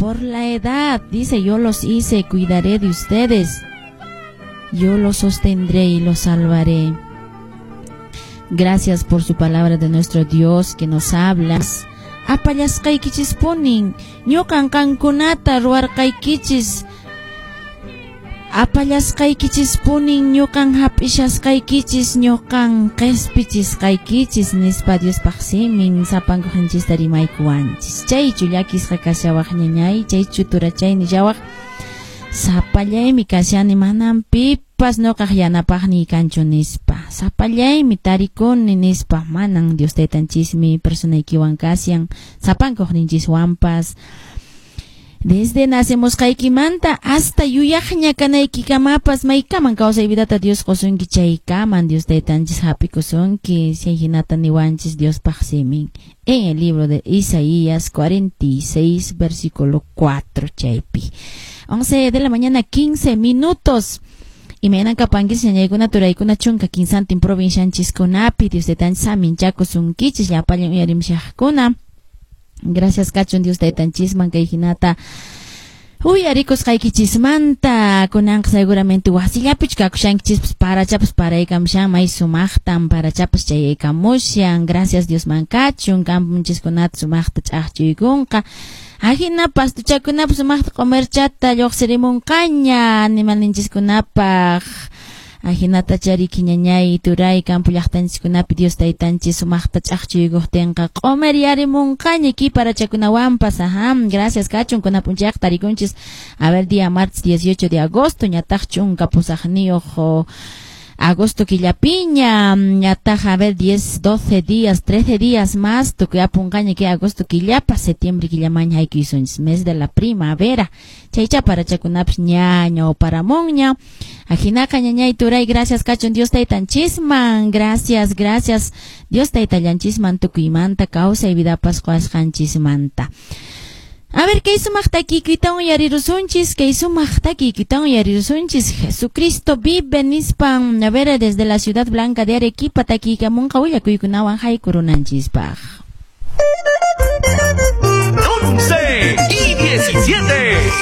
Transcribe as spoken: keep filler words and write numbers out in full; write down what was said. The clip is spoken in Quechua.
Por la edad, dice, yo los hice, cuidaré de ustedes. Yo los sostendré y los salvaré. Gracias por su palabra de nuestro Dios que nos habla. Apallasqaykichispunin, ñuqan qankunata ruwarqaykichis. Apallasqaykichispunin, ñuqan hap'ishasqaykichis, ñuqan qespichisqaykichis, nispa Diospaq simin sapankuqanchista rimaykuwanchis. Chaychu llakisqa kashawaq, ñañay, chaychu turachay nillawaq, sapallaymi kashani, manan pipas ñuqaq yanapaqniy kanchu nispa, sapallaymi tarikuni nispa, manan. Dios taytanchismi personaykiwan kashan, sapankuqninchiswanpas. Desde nacemusqaykimanta hasta yuyaqña kanaykikamapas, maykaman kawsay vidata Dios qosunki chaykaman Dios taytanchis hap'ikusunki, chay hinata niwanchis Diospaq simin en el libro de Isaías cuarenta y seis versículo cuatro chaypi. once de la mañana quince minutos. Imaynan kapankichis, ñañaykuna, turaykuna, chunka kinsantin provincianchiskunapi? Dios taytanchis saminchakusunkichis, llapallan uyarimshaqkuna. Gracias kachun Dios taytanchisman kay hinata uyarikusqaykichismanta. Kunanqa seguramente wasillapichu kakushankichispas, parachapas paraykamushan, may sumaqtan parachapas chayaykamushan. Gracias Diosman kachun, campunchiskunata sumaqta ch'aqchuykunqa, ajina pastuchakunapas sumaqta q'umirchata lluqsirimunqaña animalninchiskunapaq. Ajinata chariki, ñañay, turay, campo llaqtanchiskunapi Dios taytanchis sumaqta ch'aqchuykuqtinqa q'umir yarimunqaña ki parachakunawanpas. Ajá, gracias kachun. Kuna p'unchayqa tarikunchis, a ver, día martes dieciocho de agosto, ñataq chunka pusaqniyuq agosto killapiña, ñataq, a ver, diez, doce días, trece días más tukuy apunqaña que agosto killapa, septiembre killamaña haykuysunchis, mes de la primavera, chaycha parachakunapas ñaña o paramunña. Ajinaqa, ñañay, turay, gracias kachun Dios taytanchisman, gracias, gracias Dios taytallanchisman tukuymanta kawsay vidapas quwasqanchismanta. A ver, kay sumaq takikuytawan uyarirusunchis, kay sumaq takikuytawan uyarirusunchis, Jesucristo vive nispan, a ver, desde la Ciudad Blanca de Arequipa takiykamunqa willakuykunawan haykurunanchispaq. once y diecisiete.